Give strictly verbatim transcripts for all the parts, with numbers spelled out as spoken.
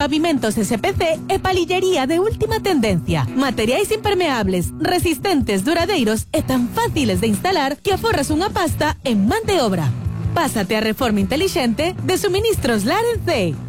Pavimentos S P C e palillería de última tendencia. Materiais impermeables, resistentes, duradeiros e tan fáciles de instalar que aforras unha pasta en man de obra. Pásate a reforma inteligente de Suministros Larense.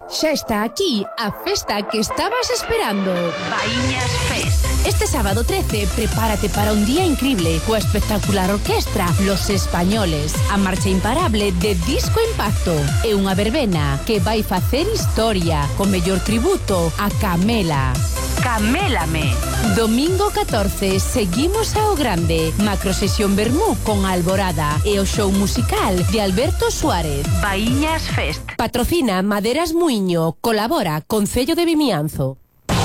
Xa está aquí a festa que estabas esperando. Baíñas Fest. Este sábado trece, prepárate para un día increíble coa espectacular orquestra Los Españoles, a marcha imparable de Disco Impacto e unha verbena que vai facer historia co mellor tributo a Camela. Camélame. Domingo catorce, seguimos ao grande. Macrosesión Vermú con Alborada e o show musical de Alberto Suárez. Baíñas Fest. Patrocina Maderas Muiño. Colabora Concello de Vimianzo.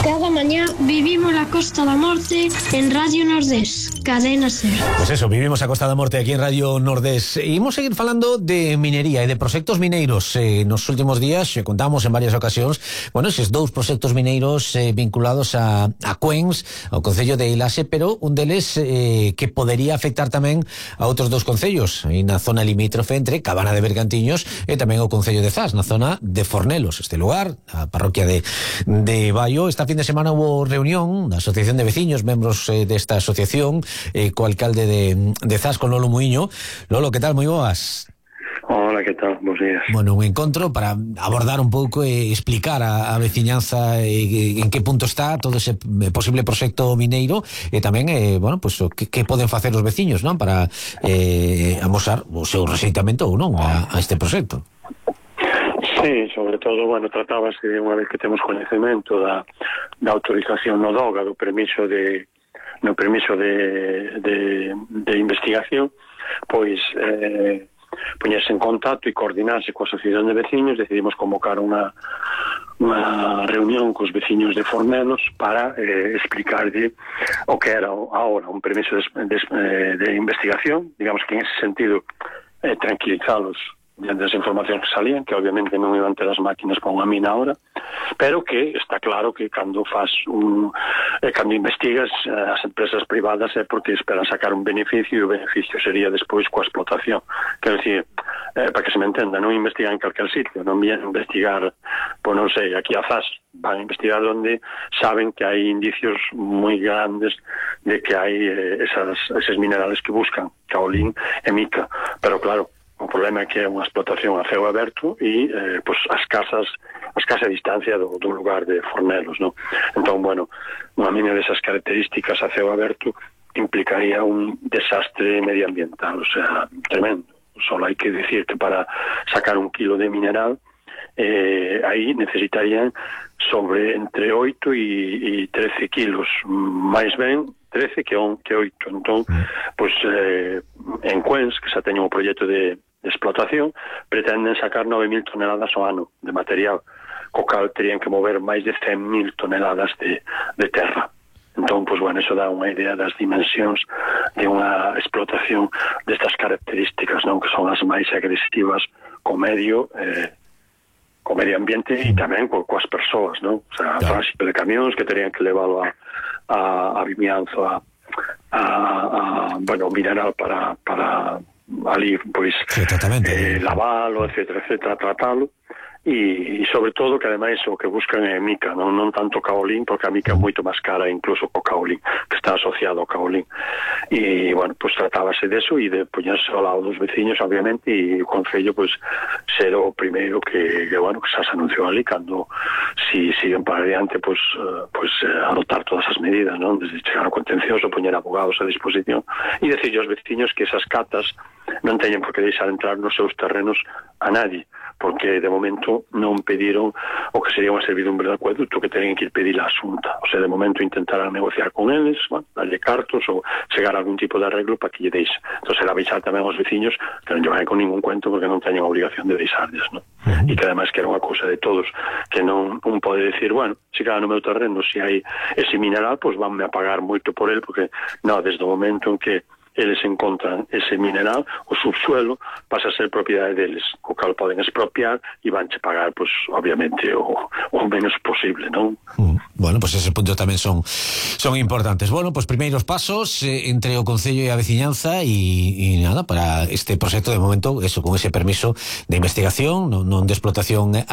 Cada mañá vivimos la Costa da Morte en Radio Nordés, Cadena Ser. Pues eso, vivimos a Costa da Morte aquí en Radio Nordés. E imos seguir falando de minería e de proxectos mineiros. Eh, nos últimos días eh, contamos en varias ocasións, bueno, eses dous proxectos mineiros eh, vinculados a, a Cuens, ao Concello de Ilase, pero un deles eh, que podería afectar tamén a outros dous concellos, aí na zona limítrofe entre Cabana de Bergantiños e tamén o Concello de Zas, na zona de Fornelos. Este lugar, a parroquia de, de Baio, esta fin de semana hubo reunión da Asociación de Veciños, membros eh, desta asociación, eh, co alcalde de, de Zas, con Lolo Muiño. Lolo, que tal? Moi boas. Hola, que tal? Bos días. Bueno, un encontro para abordar un pouco e explicar a, a veciñanza eh, en que punto está todo ese posible proxecto mineiro e tamén, eh, bueno, pues, o que, que poden facer os veciños, non? Para eh, amosar o seu rexeitamento ou non a, a este proxecto. Sí, sobre todo, bueno, tratábase de unha vez que temos coñecemento da, da autorización no DOGA, do permiso de no permiso de, de, de investigación, pois eh, poñerse en contacto e coordinarse coa Asociación de Veciños. Decidimos convocar unha unha reunión cos veciños de Fornelos para eh, explicarlle o que era ahora un permiso de, de, de investigación, digamos que en ese sentido eh, tranquilizalos diante das informacións que salían, que obviamente non iban ter as máquinas para unha mina ahora, pero que está claro que cando faz un eh, cando investigas eh, as empresas privadas é porque esperan sacar un beneficio, e o beneficio sería despois coa explotación. Quero dicir, eh, para que se me entenda, non investigan en calquer sitio, non vienen a investigar, pois non sei, aquí a Zas, van a investigar onde saben que hai indicios moi grandes de que hai eh, esas, eses minerales que buscan, kaolín e mica, pero claro, o problema é que é unha explotación a ceo aberto e eh, pues, a escasas a escasa distancia do, do lugar de Fornelos, ¿no? Entón, bueno, unha mina desas características a ceo aberto implicaría un desastre medioambiental, o sea, tremendo. Solo hai que decir que para sacar un kilo de mineral eh, aí necesitarían sobre entre oito e trece kilos, máis ben trece que oito. Entón, pois, eh, en Cuens, que xa teñen o proxecto de, de explotación, pretenden sacar nove mil toneladas ao ano de material, co cal terían que mover máis de cen mil toneladas de, de terra. Entón, pois, bueno, eso dá unha idea das dimensións de unha explotación destas características, non? Que son as máis agresivas co medio, eh, co medio ambiente e tamén co, coas persoas, non? O sea, claro, tránsito de camións que terían que leválo a a, a Vimianzo a, a, a bueno, mineral para, para ali, pois, eh, lavalo, etcétera, etcétera, tratalo. E, e sobre todo que ademais o que buscan é mica, non, non tanto kaolín, porque a mica é moito máis cara incluso co kaolín, que está asociado ao kaolín. E, bueno, pues tratábase deso e de poñerse ao lado dos veciños, obviamente, e o Concello, pues, ser o primeiro que, que bueno, que xa se anunciou ali, cando si siguen para adiante, pues, uh, pues uh, adoptar todas as medidas, non? Desde chegar ao contencioso, poñer abogados a disposición, e decirle aos veciños que esas catas non teñen por que deixar entrar nos seus terrenos a nadie, porque de momento non pediron o que sería unha servidumbre de acueducto, que teñen que ir pedir a Xunta. O sea, de momento intentarán negociar con eles, bueno, darlle cartos ou chegar a algún tipo de arreglo para que lle deixe. Entón, será avisar tamén aos veciños que non lle vai con ningún cuento porque non teñen a obligación de deixarles, non? Uh-huh. E que ademais que era unha cousa de todos, que non un pode decir, bueno, se cada no meu terreno se hai ese mineral, pois pues vanme a pagar moito por el, porque non, desde o momento en que eles encontran ese mineral, o subsuelo pasa a ser propiedade deles, co cal poden expropiar e vanche pagar, pues, obviamente, o, o menos posible, non? Mm. Bueno, pues esos puntos tamén son son importantes. Bueno, pues primeiros pasos eh, entre o Concello e a veciñanza e, e nada, para este proxecto de momento, eso, con ese permiso de investigación, non, non de explotación